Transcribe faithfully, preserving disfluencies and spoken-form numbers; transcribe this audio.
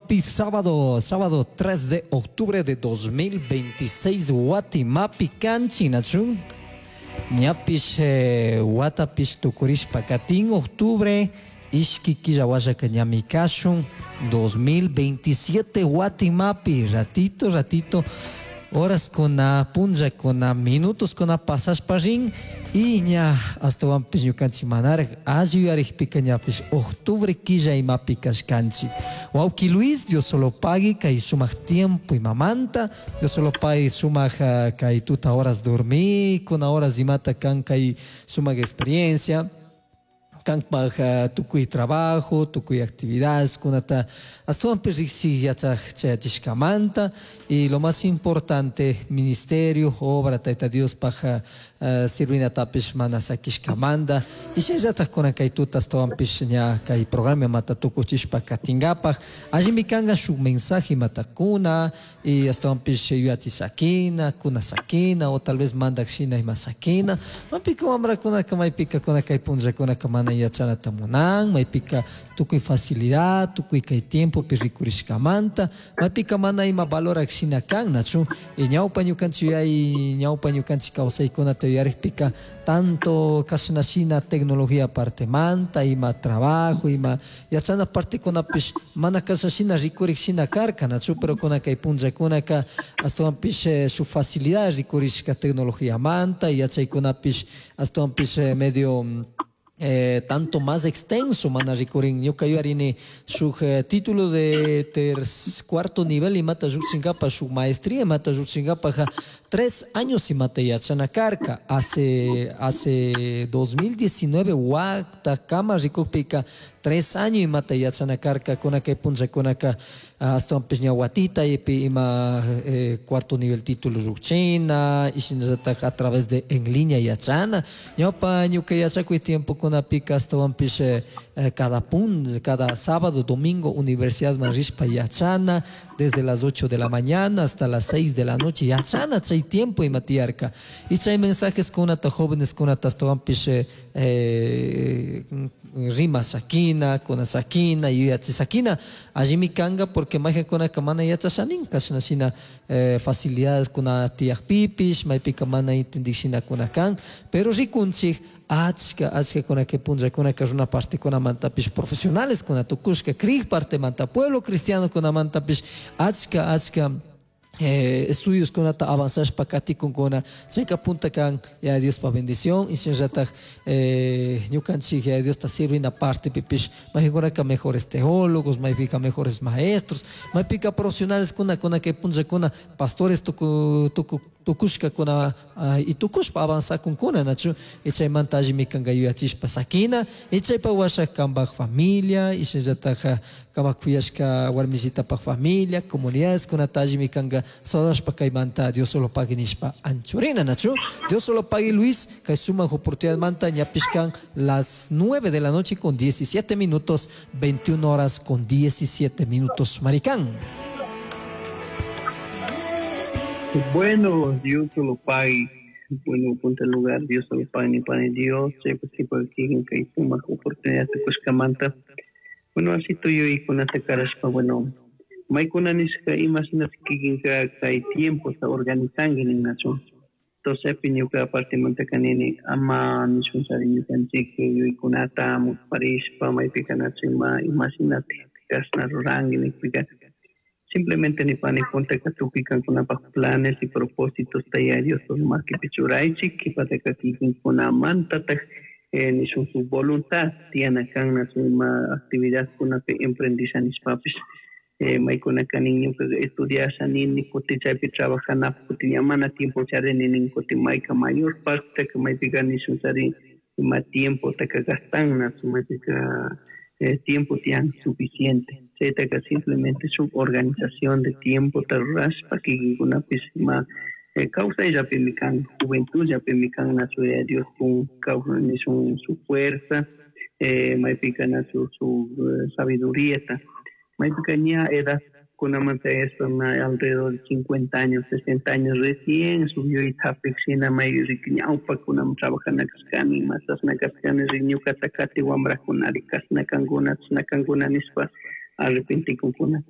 Guatimapi, sábado, sábado tres de octubre de dos mil veintiséis, Guatimapi kanchik, nachu? Ñapish eh, watapish tukurishpa katin, octubre, ishki killa washaka ñami kashun dos mil veintisiete Guatimapi, ratito, ratito, horas kuna, punllakuna, minutos kuna pasashpa rin y ña ashtawanpish ñukanchik manaraj alli yuyarikpika ñapish octubre killa imapi kashkanchik. Wawki Luis, Dios solo pagui kay sumak tiempo imamanta, Dios solo pagui sumak uh, kay tuta horas dormir, kuna horas imata kan kay sumak experiencia kanpaj tukuy trabajo, tukuy actividades kunata ashtawanpish riksi yachaj chayachishkamanta y lo más importante, ministerio, obra Tayta Diospaj uh, sirvinatapish mana sakishkamanta y shinallataj kunan kay tuta ashtawanpish ña kay programa mata tukuchishpa katingapaj allimi kanka shuk mensaje imata kuna y ashtawanpish yuyachi sakina, kuna sakina o tal vez mandak shina ima sakina. Maypika wamrakunaka maypika kuna kay punllakunaka mana yachanata munan, maypika tukuy facilidad, tukuy kay tiempopi rikurishkamanta, maypika mana ima valorak shina kan, nachu? Y ñawpa ñukanchik yuyay, ñawpa ñukanchik kawsaykunata yuyarikpika tanto kashna shina tecnología partemanta, ima trabajo, ima yachana partekunapish mana kashna shina rikurik shina karka, nachu? Pero kuna kay punllakunaka ashtawanpish eh, su facilidad rikurishka tecnologiamanta, yachaykunapish ashtawanpish eh, medio eh, tanto más extenso mana rikurin. Ñuka yuyarini shuk eh, título de ter cuarto nivel imata llukshinkapa, shuk maestría imata llukshinkapaja tres años imata yachana karka hace hace dos mil diecinueve wata kama rikukpika tres años imata yachana karka. Kuna kay punllakunaka ashtawanpish ña watita ipi ima eh, cuarto nivel título llukchina y shinallatak a través de en línea yachana. Ñawpa ñuka yachakuy tiempokunapika ashtawanpish eh, eh, cada pun cada sábado, domingo universidad man rishpa yachana desde las ocho de la mañana hasta las seis de la noche yachana. Chay tiempo ima tiyarka y chay mensajes kunata jóvenes kunata ashtawanpish eh, eh, rima sakina, kuna sakina, yuyachi sakina allimi kanga, porque maykankunaka mana yachashanin kashna shina eh, facilidades kuna tiyakpipish maypika mana entendikshina kuna kan. Pero rikunchik achka achka kuna kay punllakunaka runa partekunamantapish profesionales kuna tukushka, krik partemanta, pueblo cristiano kunamantapish achka achka eh, estudios kunata avanzashpa katikunkuna. Chayka punta kan ya Diospa bendición y shinallatak eh, ñukanchik ya Diosta sirvina partepipish maykankunaka mejores teólogos, maypika mejores maestros, maypika profesionales kuna kuna kay punllakuna pastores tuku tuku tukushkakuna uh, y tukushpa avanzakunkuna, nachu? Y chaymanta allimi kanka yuyachishpa sakina y chaypa washa kanpak familia y shinallatak kanpak kuyashka warmisitapaj familia, comunidades kunata allimi kanka sodashpa kaymanta Dios solo pague nishpa anchurina, nachu? Dios solo pague, Luis, kay sumak oportunidad manta. Ñapish kan las nueve de la noche con diecisiete minutos, veintiuna horas con diecisiete minutos, maricán. Bueno, Dios solo pague. Bueno, punto lugar, Dios solo pague ni pane Dios, pues tipo aquí kay sumak oportunidad tukushkamanta. Bueno, así tuyo kunata karashpa, bueno, maykuna nishka imashina kikinka kay tiempo ta organizanki ninachu. Entonces, ñuka partimanta kanini ama nishun sari ñukanchik yuykunata musparishpa maypika nachu ima imashinati kashna ruranki nikpika simplemente nipani puntaka tukuy kankunapaj planes y propósitos taya Dios makipi churaychik, kipataka kikinkunamantataj eh, nishun su voluntad tiyana kan nachu ima actividad kunapi emprendisha nishpapish eh, maykunaka nin ñuka estudiasha nini kutin chaypi trabajanapaj kutin ña mana tiempo charini nin kutin mayka mayor parte maypika nishun chari ima tiempo taka gastan nachu maypika eh, tiempo tiyan suficiente. Chaytaka simplemente shuk organización de tiempo ta rurashpa kikinkunapish ima eh, kawsayllapimi kan, juventud llapimi kan nachu Yaya Dios kun nishun su fuerza eh, maypika nachu su eh, sabiduría ta maypika ña edad kunamanta espa ma alrededor de cincuenta años, sesenta años recién subió y hapik shina may riki ñawpakunaman trabajana kashkani masasna kashkani rik ñukata kati wambrakunari kashna kankuna chashna kankuna nishpa arrepentikunkuna.